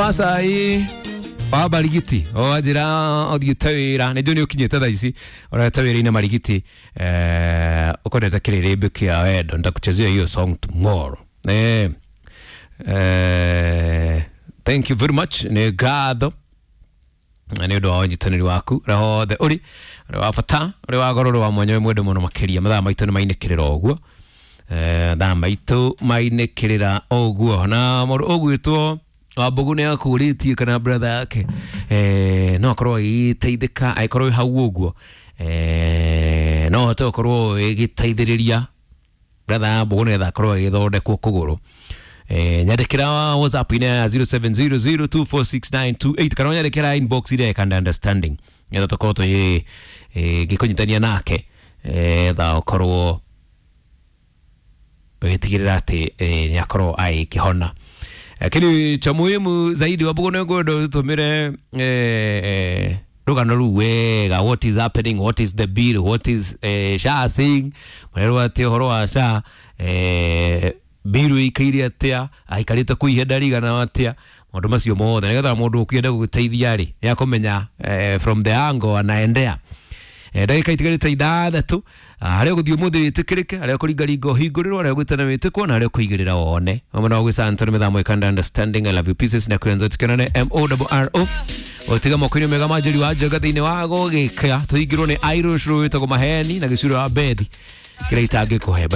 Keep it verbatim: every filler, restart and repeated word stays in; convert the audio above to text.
Acai wa Marigiti o njĩra ũthiĩte wĩra nĩ njũĩ nĩ ũkinyĩte thaa ici ũrete wĩra-inĩ Marigiti, eh, ũkonete kĩrĩrĩmbĩ kĩa wendo. Nitakuchezea hiyo song tomorrow. eh, eh, thank you very much, nĩ ngatho nĩ ũndũ wa ũnyitanĩri waku ũrĩa hothe ũrĩ, ũrĩ wa bata, ũrĩ wa goro, ũrĩ wa mwanya, wĩ mwende mũno makĩria. Mathaa maitũ nĩ mainĩkĩrĩra ũguo. Eh, thaa maitũ mainĩkĩrĩra ũguo na mũndũ ũgwĩtwo Wambugu nĩ akũrĩtie kana brother yake eh, no akorwo agĩteithĩka angĩkorwo wĩ hau ũguo, eh, no hote gũkorwo ĩgĩteithĩrĩria brother ya Mbugu nĩgetha akorwo agĩthondekwo kũgũrũ. eh, nyandĩkĩra WhatsApp-inĩ ya zero seven zero zero two four six nine two eight kana ũnyandĩkĩra inbox ĩrĩa ĩkanda understanding nĩgetha tũkorwo tũgĩ eh, ngĩkũnyitania nake etha ũkorwo ũgĩtigĩrĩra atĩ eh, nĩ akorwo agĩkĩhona. Lakini cha muhimu zaidi, Wambugu, nĩ ngwenda ũtũmĩre eh, rũgano rũu wega. What is happening? What is the bill? What is eh, SHA saying? Marerwo atĩ ũhoro wa SHA, eh, bill ĩikaire atĩa, aikarĩte kũ ihinda rĩigana atĩa, maũndũ macio mothe nĩgetha mũndũ ũkĩenda gũgũteithia rĩ nĩ akũmenya eh, from the angle anaendea. Eh, ndagĩka itigarĩte ithathatũ harĩa ũgũthiĩ ũmũthĩ wĩtĩkĩrĩke, harĩa ũkũringaringa ũhingũrĩrwo, harĩa ũgwĩtana wĩtĩkwo na harĩa ũkũigĩrĩra wone hamwe na ũgwĩca Anthony mĩthamo ĩkanda understanding. I love you pieces na kuenza tukenane m o r o ũtiga moko-inĩ mega ma Njeri wa Njenga thĩinĩ wa gũgĩka tũhingĩrwo nĩ Irish rwĩtagwo maheni na gĩcuro wa bethi kĩrĩa itangĩkũhe.